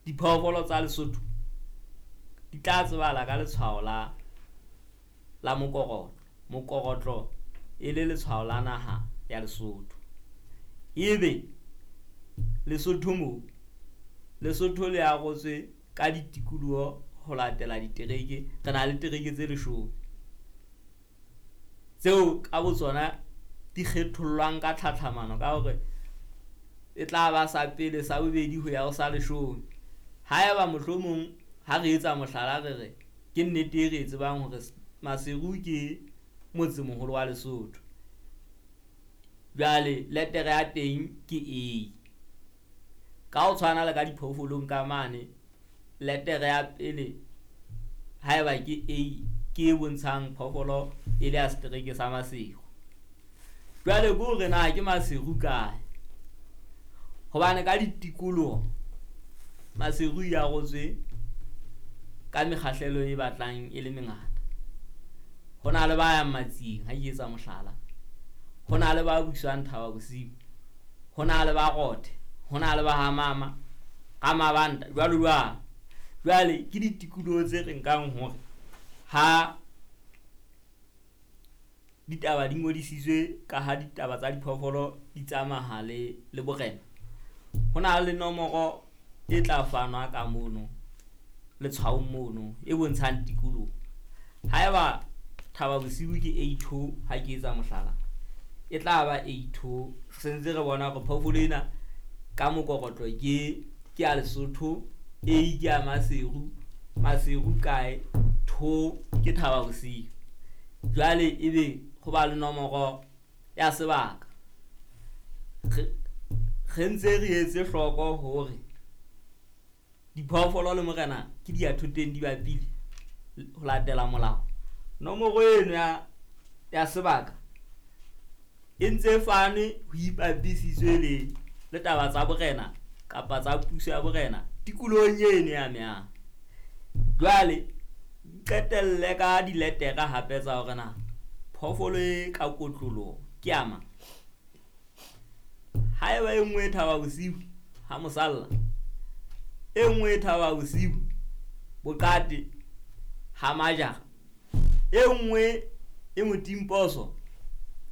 Diphoofolo tsa Lesotho di tla tsebahala ka letshwao la mokorotlo. Mokorotlo e le letshwao la naha ya Lesotho. Ebe Lesotho moo, Lesotho le arotswe ka ditikoloho ho latela ditereke. Re na le tereke tse 10 tseo ka botsona di kgethollwang ka tlhatlhamano ka hore e tla ba sa pele, sa bobedi ho ya ho sa 10. Haeba mohlomong ha re etsa mohlala re re ke nnete e re e tsebang hore Maseru ke motsemoholo wa Lesotho. Jwale letere ya teng ke A. Ka ho tshwana le ka diphoofolong ka mane, letere ya pele haeba ke A ke e bontshang phoofolo e le ya setereke sa Maseru. Jwale ke hore na ke Maseru kae? Hobane ka ditikoloho Maseru e arotswe ka mekgahlelo e batlang e le mengata. Ho na le ba yang Matsieng, ha ke etsa mohlala. Ho na le ba buswang Thaba Bosiu. Ho na le ba Rothe, ho na le ba Hamama, ka Mabanta, jwalo jwalo. Jwale ke ditikoloho tse re nkang hore ha ditaba di ngodisitswe ka ha ditaba tsa diphoofolo di tsamaya le borena. Ho na le nomoro e tla fanwa ka mono letshwaong mono e bontshang tikoloho. Haeba Thaba Bosiu ke A2 ha ke etsa mohlala, e tla ba A2. Re sentse re bona hore phoofolo ena ka mokorotlo ke ya Lesotho, A ke ya Maseru, Maseru kae, 2 ke Thaba Bosiu. Jwale ebe ho ba le nomoro ya sebaka. Re ntse re etse hloko hore diphoofolo le morena ke di ya thoteng di bapile ho latela molao. Nomoro eno ya sebaka e ntse fanwe ho ipapisitswe le taba tsa borena kapa tsa puso ya borena tikolohong eno ya mehang. Jwale qetelle ka diletera hape tsa hore na phoofolo e ka kotloloho ke ya mang. Haeba e nngwe e Thaba Bosiu ha mosalla, e nngwe e Thaba Bosiu Boqate ha Majara, e nngwe e Motimposo,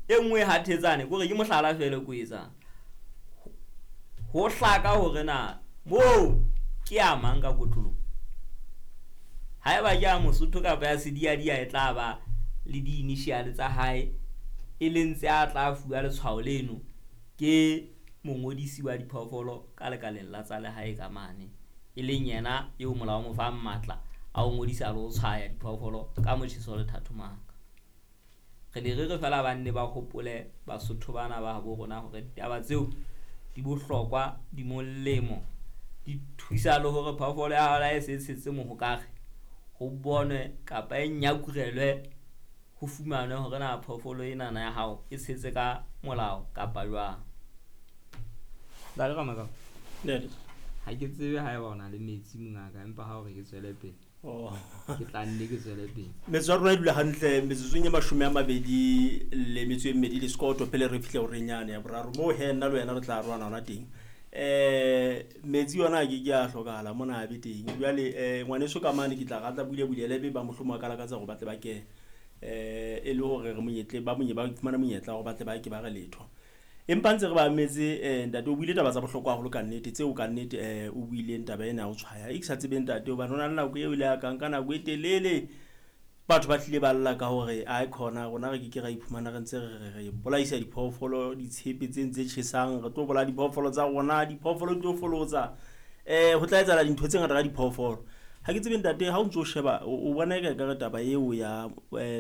e nngwe ha Thetsane, kore ke mohlala feela ko etsang. Ho hlaka hore na moo ke ya mang ka kotloloho. Haeba ke ya Mosotho kapa ya Sediadia, e tla ba le di-initial tsa hae e leng tse a tla fuwa letshwao leno ke mongodisi wa diphoofolo ka lekaleng la tsa lehae ka mane, e leng yena eo molao o mo fang matla a ho ngodisa le ho tshwaya diphoofolo ka motjheso le thathomaka. Re ne re re fela ba nne ba hopole Basotho bana ba habo rona hore ditaba tseo di bohlokwa, di molemo, di thusa le hore phoofolo ya hao e se tshetse mohokare ho bonwe kapa e nyakurelwe ho fumanwe hore na phoofolo enana ya hao e tshetse ka molao kapa jwang. Ntate Ramakau, ha ke tsebe haeba o na le metsi mongaka, empa ha o re ke tswele pele. Ke tla nne ke tswele pele. Metso ya rona e dula hantle metsotsong e 22 le sekoto pele re fihle horeng yane ya boraro. Moo he nna le wena re tla arohana hona teng. Metsi yona a ke ke a hlokahala mona a be teng. Jwale ngwaneso ka mane ke tla ratla bule bulele be ba mohlomong a ka lakatsa hore ba tle ba kene. E le hore re monyetle ba monye ba fumana monyetla hore ba tle ba ke ba re letho. Empa ntse re ba metse ntate o buile taba tsa bohlokwa haholo ka nnete tseo ka nnete o buileng taba ena ya ho tshwaya. E ke sa tsebeng ntate hobane ho na le nako eo ile ya ka nka nako e telele batho ba tlile ba lla ka hore ai khona rona re ke ke ra iphumana re ntse re bolaisa diphoofolo ditshepe tse ntse tjhesang, re tlo bolaya diphoofolo tsa rona, diphoofolo di tlo folotsa. Ho tla etsahala dintho tse ngata ka diphoofolo. Ha ke tsebe ntate ha o ntso sheba o bona eka ekare taba eo ya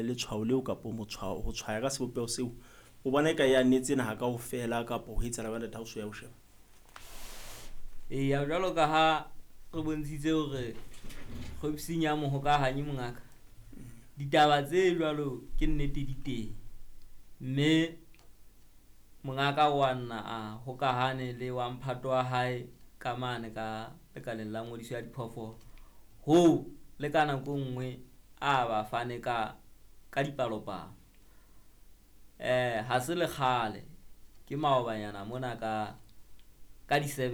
letshwao leo kapo motshwao ho tshwaya ka sebopeho seo, o bona eka ya netse naha kaofela kapo ho etsahala jwang ntate ha o so ya ho sheba? Eya, jwalo ka ha re bontshitse hore kgwebising ya mohokahanyi mongaka, ditaba tse jwalo ke nnete di teng. Mme mongaka wa nna a hokahane le wa mphato wa hae ka mane ka lekaleng la ngodiso ya diphoofolo. Hoo le ka nako nngwe a ba fane ka dipalopalo. Ha se le kgale ke maobanyana mona ka di 7.